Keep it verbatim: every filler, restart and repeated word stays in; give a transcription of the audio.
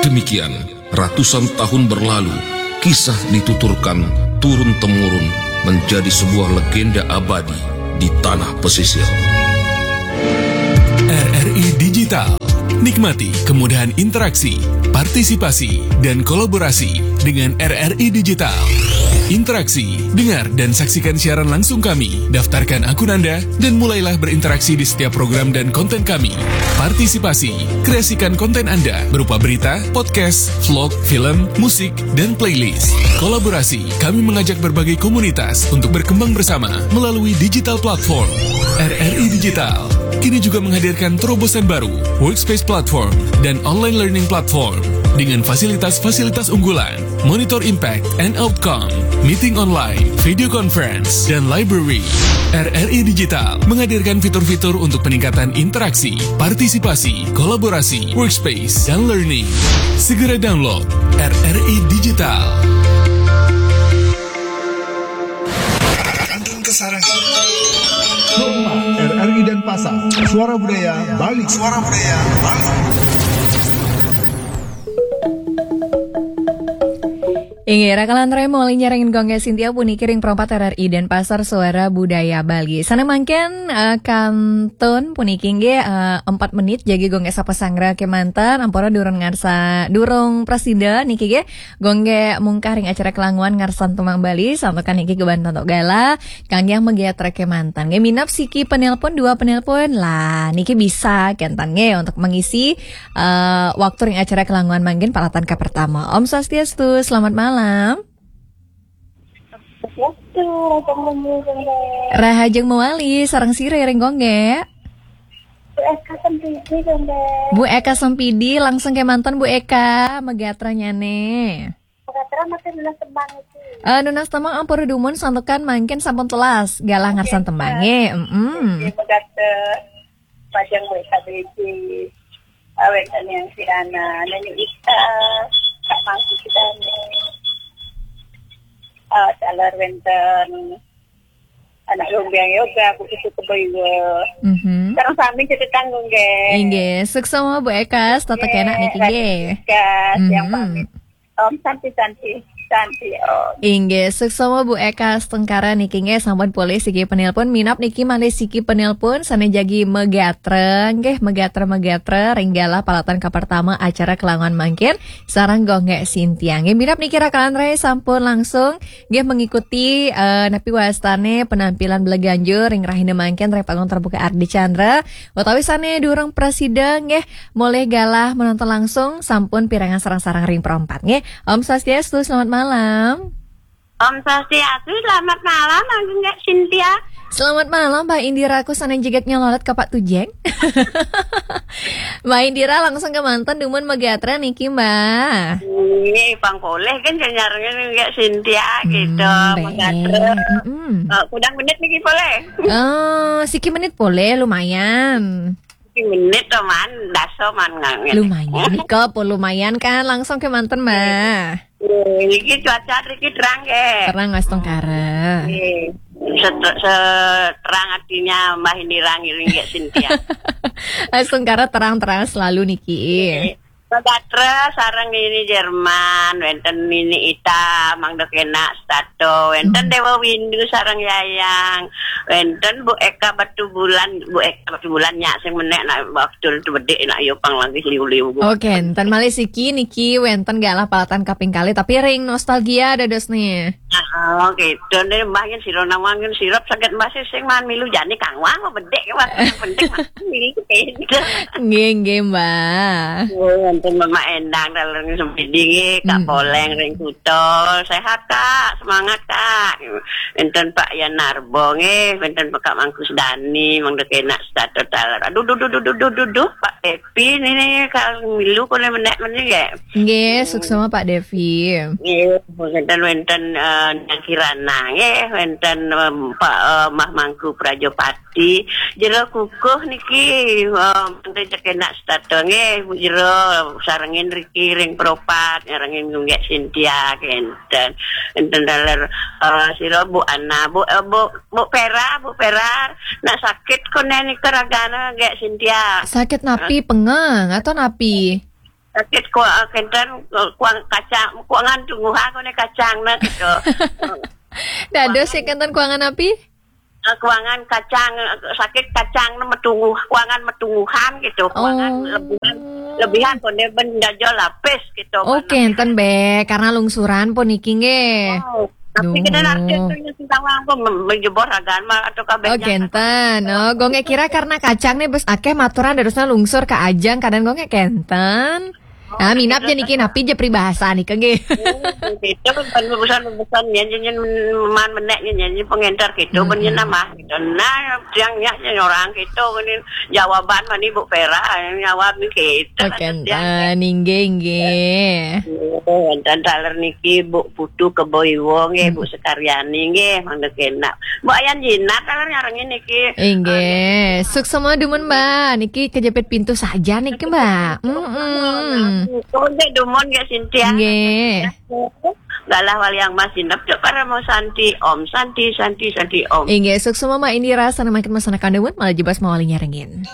Demikian, ratusan tahun berlalu, kisah dituturkan turun-temurun menjadi sebuah legenda abadi di tanah pesisir. R R I Digital. Nikmati kemudahan interaksi, partisipasi, dan kolaborasi dengan R R I Digital. Interaksi, dengar dan saksikan siaran langsung kami. Daftarkan akun Anda dan mulailah berinteraksi di setiap program dan konten kami. Partisipasi, kreasikan konten Anda berupa berita, podcast, vlog, film, musik, dan playlist. Kolaborasi, kami mengajak berbagai komunitas untuk berkembang bersama melalui digital platform. R R I Digital kini juga menghadirkan terobosan baru, Workspace Platform dan Online Learning Platform dengan fasilitas-fasilitas unggulan, Monitor Impact and Outcome, Meeting Online, Video Conference, dan Library. R R I Digital menghadirkan fitur-fitur untuk peningkatan interaksi, partisipasi, kolaborasi, workspace, dan learning. Segera download R R I Digital. Kantun Kesarang. Rumah R R I Denpasar. Suara Budaya Bali. Suara Budaya Bali. Inggih, rakalan rai, maulinya ring Gung Gé Sintia puniki ring perempat R R I Denpasar, Suara Budaya Bali. Sané mangkin, eh, kantun puniki inggih, eh, empat menit jagi Gung Gé sapa sangra kémanten, ampura durung ngarsa, durung prasida niki nggih. Gung Gé mungkah ring acara Kelanguan Ngarsan Tembang Bali, santukan niki kebantun galah kanggé magatra kémanten. Nggih, minab siki penelpon, dua penelpon. Lah, niki bisa kénten nggih untuk mengisi, eh, waktu ring acara Kelanguan mangkin palatan kapertama. Om Swastiastu, selamat malam. Swastiastu, Raja Mulu, Gung Gé. Rahajeng mawali, sareng sira ring Gung Gé? Bu Eka Sempidi, Gung Gé. Bu Eka Sempidi, langsung kémanten Bu Eka, magatra nyané. Magatra masih nunas tembang iki. Eh, nunas tembang ampura dumun santukan mangkin sampun telas galah ngarsan tembangé. Mm-mm. Nggih, magatra. Pajang W K B C, awet yang si Ana, Nani Ita, Kak Mangku Sidane, uh, Salar Wenten, anak Lumbiang Yoga, Bu Susu Keboiwa. Mhm. Sareng sami cedhetan, Gung Gé. Inggih, suksma Bu Eka, tetep enak niki nggih. Eka, yang Mhm. pamit. Om Santi, Santi, Santi, Om. Inggih, suksma Bu Eka Astungkara niki nggih, sampun polih siki penelpon, minab niki malih siki penelpon sané jagi magatra, nggih, magatra, magatra ring galah palatan kapertama acara Kelanguan mangkin sareng Gung Gé Sintia. Nggih, minab niki rakalan rai sampun langsung nggih mengikuti, eh, napi wastané penampilan bela ganjur ring rahina mangkin ring panggung terbuka Ardicandra, utawi sané durung prasida nggih molih galah menonton langsung, sampun pirengang sareng-sareng ring perempat nggih. Om Swastiastu, selamat malam. Om Swastiastu, selamat malam, Gung Gé Sintia. Selamat malam, Mbak Indira, ku sané jeget nyololet ka Pak Tujeng. Mbak Indira langsung kémanten dumun magatra niki, Mbak. Nggih, pang polih kan nyarengin Gung Gé Sintia gitu, Hmm, magatra. Baik. Mm-mm. Eh, kudang menit niki polih. Eh, siki menit polih, lumayan. Siki menit to, man, dasa man ngangen. Lumayan nika, apa lumayan kan? Langsung kémanten, Mbak. Nggih, niki cuaca niki terang nggih. Terang, Astungkara. Nggih. Set-, seterang artinya Mbah Indira ngiring nggih Sintia. Astungkara terang-terang selalu niki. Nggih. Magatra sareng Nini Jerman, wénten Nini Ita, Mang Dok Enak, Stato, wénten Mhm. Dewa Windu sareng Yayang, wénten Bu Eka Batu Bulan, Bu Eka Batu Bulan nyak sing menék nak waktu itu bedik nak yo pang lagi liu-liu. Oke, enten malih siki niki wénten galah palatan kaping kalih, tapi ring nostalgia dados nih. Ah, gitu nih, Mbah, yen sira nawang yen sirep saged Mbah sing man milu jane kang wang bedik, Mbah, penting milu beda. Nggih, nggih, Mbah. Oh, wonten Mama Endang, dalem Sempidi nggih, Kak Mm. Poleng ring Kuta. Sehat, Kak, semangat, Kak. Enten Pak Yan Narbo nggih, enten Pak Kak Mangkus Dani, Mang Dek Enak, Stato Taler. Aduh, duh, duh, duh, duh, duh, duh, duh, Pak Epi nini kang milu kone menek meni nggih. Nggih, suksma Pak Devi. Nggih, wenten, wenten, eh, Nang Kirana, nggih, wenten, em, Pak, eh, Mah Mangku Prajapati, Jero Kukuh niki, eh, wenten cekenak setata, nggih, Bu Jero, sarengin riki ring Propat, nyarengin Gunggek Sintia, kenten. Wenten daler, eh, sira Bu Ana, Bu, eh, Bu, Bu Pera, Bu Pera, nak sakit kone nika ragane, Gunggek Sintia. Sakit napi, pengeng atau napi? Sakit kuang, kenten, kuang kacang, kuangan tungguhan kone kacang nah gitu. Dados sing kenten kuangan napi? Eh, kuangan kacang, eh, sakit kacang nah metungguh, kuangan metungguhan gitu. Kuangan Oh. Lebihan, lebihan kone ben dajo lapis gitu. Oh, kenten be, karena lungsuran pun niki nggih. Oh, tapi Duh. Kenten artis tuh yang tentang apa menjebor ragaan mah atau kabeh. Oh, kenten. Oh, gongge kira karena kacang nih bes akeh maturan dadosna lungsur ka ajeng, kadang gongge kenten. Nah, minap je niki napi je peribahasa nih kege. Gitu kan urusan urusan nyanyi nyanyi man menek nyanyi pengenter gitu Mm-mm. Bener nama gitu. Nah, yang nyanyi orang gitu ini jawaban mani Bu Pera yang jawab gitu. Oh, kenten, inggih, inggih. Oh, dan taler niki Bu Putu Keboiwo nggih, Bu Sekaryani nggih, mangda kena. Bu Ayan Jinak taler nyarengin niki. Inggih, suksema dumun Mbak. Niki kejepit pintu saja niki Mbak. Mm-mm. Konde dumun nggih Sintia. Nggih. Galah wali yang masih nep cek para mau santi om santi santi santi om. Inggih, suksema Mbak Indira sana makin masanakan dumun malah jebas mawali nyarengin.